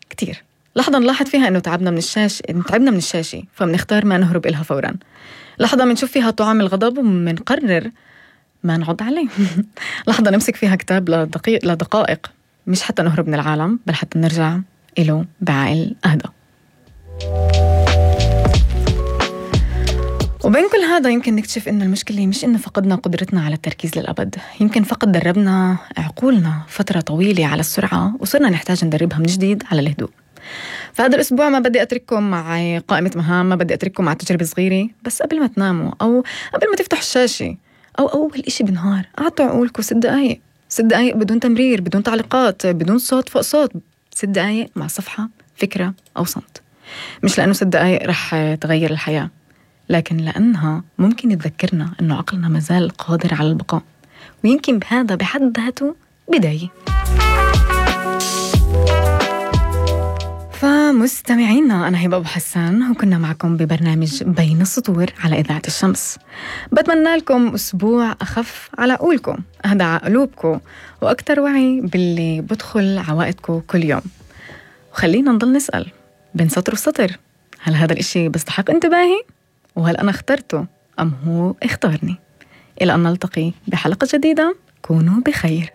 كتير. لحظة نلاحظ فيها إنه تعبنا من الشاشة فمنختار ما نهرب إلها فوراً. لحظة منشوف فيها طعم الغضب ومنقرر ما نعض عليه. لحظة نمسك فيها كتاب لدقائق مش حتى نهرب من العالم بل حتى نرجع إله بعقل أهدى. وبين كل هذا يمكن نكتشف إن المشكلة مش إنه فقدنا قدرتنا على التركيز للأبد، يمكن فقد دربنا عقولنا فترة طويلة على السرعة وصرنا نحتاج ندربها من جديد على الهدوء. فهذا الأسبوع ما بدي أترككم مع قائمة مهام، ما بدي أترككم مع تجربة صغيرة، بس قبل ما تناموا أو قبل ما تفتحوا الشاشة أو أول إشي بالنهار أعطوا عقولكم 6 دقايق، 6 دقايق بدون تمرير، بدون تعليقات، بدون صوت فوق صوت، 6 دقايق مع صفحة، فكرة أو صمت. مش لأنه 6 دقايق رح تغير الحياة، لكن لأنها ممكن تذكرنا أنه عقلنا مازال قادر على البقاء، ويمكن بهذا بحد ذاته بداية. فمستمعينا، أنا هبة أبو حسان وكنا معكم ببرنامج بين السطور على إذاعة الشمس. بتمنى لكم أسبوع أخف على عقولكم، أهدى على قلوبكم، وأكتر وعي باللي بدخل عوائدكم كل يوم. وخلينا نضل نسأل بين سطر وسطر، هل هذا الإشي بيستحق انتباهي؟ وهل أنا اخترته أم هو اختارني؟ إلى أن نلتقي بحلقة جديدة، كونوا بخير.